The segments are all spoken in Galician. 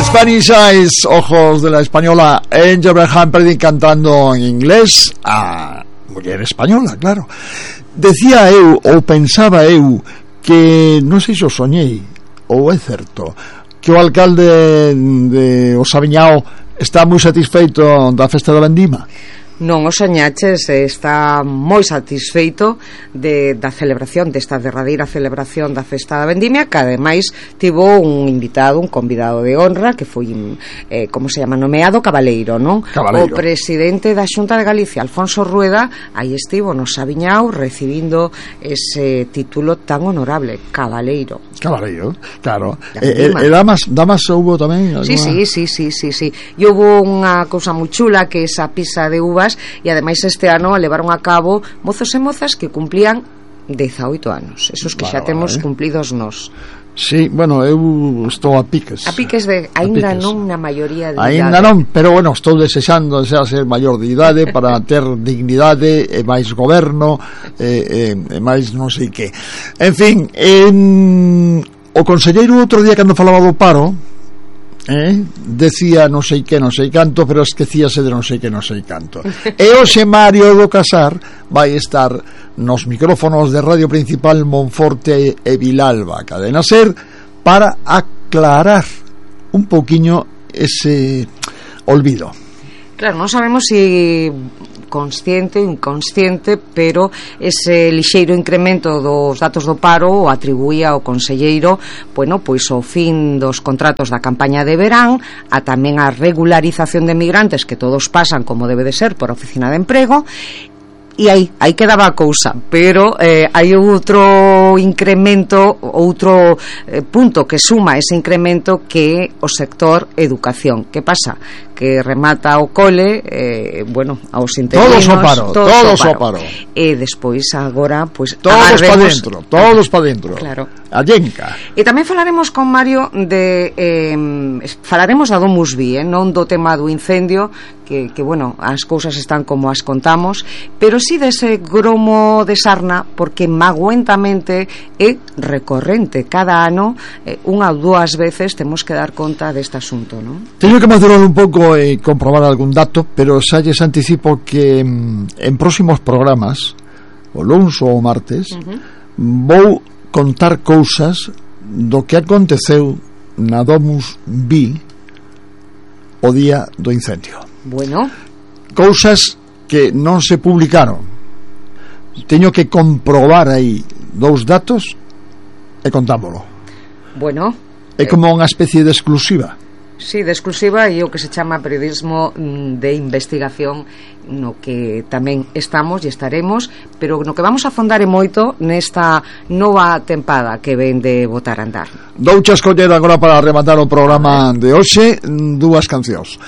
Spanish Eyes, ojos de la española Angel Humperdinck cantando en inglés a muller española, claro. Decía eu, ou pensaba eu, que non sei se o soñei ou é certo que o alcalde de Osaviñao está moi satisfeito da festa da vendima. Non o soñaches, está moi satisfeito da celebración, desta derradeira celebración da festa da vendimia, que ademais tivo un invitado, un convidado de honra, que foi, como se llama, nomeado cabaleiro, non? Cabaleiro. O presidente da Xunta de Galicia, Alfonso Rueda, aí estivo no Saviñao recibindo ese título tan honorable, cabaleiro. Cabaleiro, claro. E damas houbo tamén? Sí. E houbo unha cousa moi chula, que esa pisa de uvas, e ademais este ano levaron a cabo mozos e mozas que cumplían 18 anos, esos que xa temos cumplidos nós. Sí, bueno, eu estou a piques. A piques de, aínda non na maioría de idade. Aínda non, pero bueno, estou desexando ser maior de idade para ter dignidade e máis goberno e máis non sei que. En fin, o conselleiro outro día cando falaba do paro, decía non sei que, non sei canto, pero esquecíase de non sei que, non sei canto. E hoxe Mario do Casar vai estar nos micrófonos de Radio Principal Monforte e Vilalba, Cadena Ser, para aclarar un poquinho ese olvido. Claro, non sabemos se consciente ou inconsciente, pero ese lixeiro incremento dos datos do paro o atribuía ao conselleiro, bueno, pois ao fin dos contratos da campaña de verán, a tamén a regularización de migrantes que todos pasan como debe de ser por oficina de emprego. E aí quedaba a cousa, pero hai outro incremento, outro punto que suma ese incremento, que o sector educación. Que pasa? Que remata o cole, bueno, aos interinos, todos ao paro. E despois agora, pois todos para dentro. Claro. A llenca. E tamén falaremos con Mario falaremos da Domusvi, non do tema do incendio, que bueno, as cousas están como as contamos, pero si dese gromo de sarna, porque magoentamente é recorrente cada ano, unha ou dúas veces temos que dar conta deste asunto, non? Teño que madurar un pouco e comprobar algún dato, pero xa lles anticipo que en próximos programas, o luns ou o martes, vou contar cousas do que aconteceu na Domusvi o día do incendio. Bueno, cousas que non se publicaron. Teño que comprobar aí dous datos e contámolo. Bueno, é como unha especie de exclusiva. Sí, de exclusiva, e o que se chama periodismo de investigación, no que tamén estamos e estaremos, pero no que vamos a afondar é moito nesta nova tempada que ven de botar a andar. Douche escoller agora para rematar o programa de hoxe dúas cancións.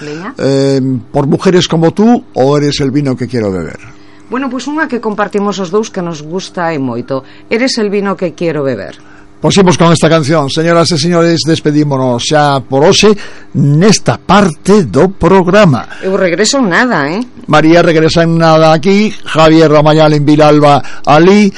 Por mujeres como tú, ou eres el vino que quiero beber? Bueno, pois unha que compartimos os dous, que nos gusta e moito. Eres el vino que quiero beber. Pois imos con esta canción, señoras e señores, despedímonos xa por hoxe nesta parte do programa. Eu regreso en nada, María regresa en nada aquí, Javier Ramayal en Vilalba ali,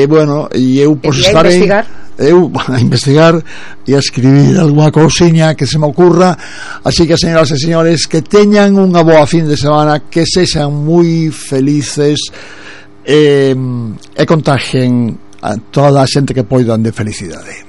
bueno, e eu pois estarei a investigar e a escribir algunha cousiña que se me ocurra. Así que, señoras e señores, que teñan unha boa fin de semana, que sexan moi felices e contagien a toda a xente que poidan de felicidade.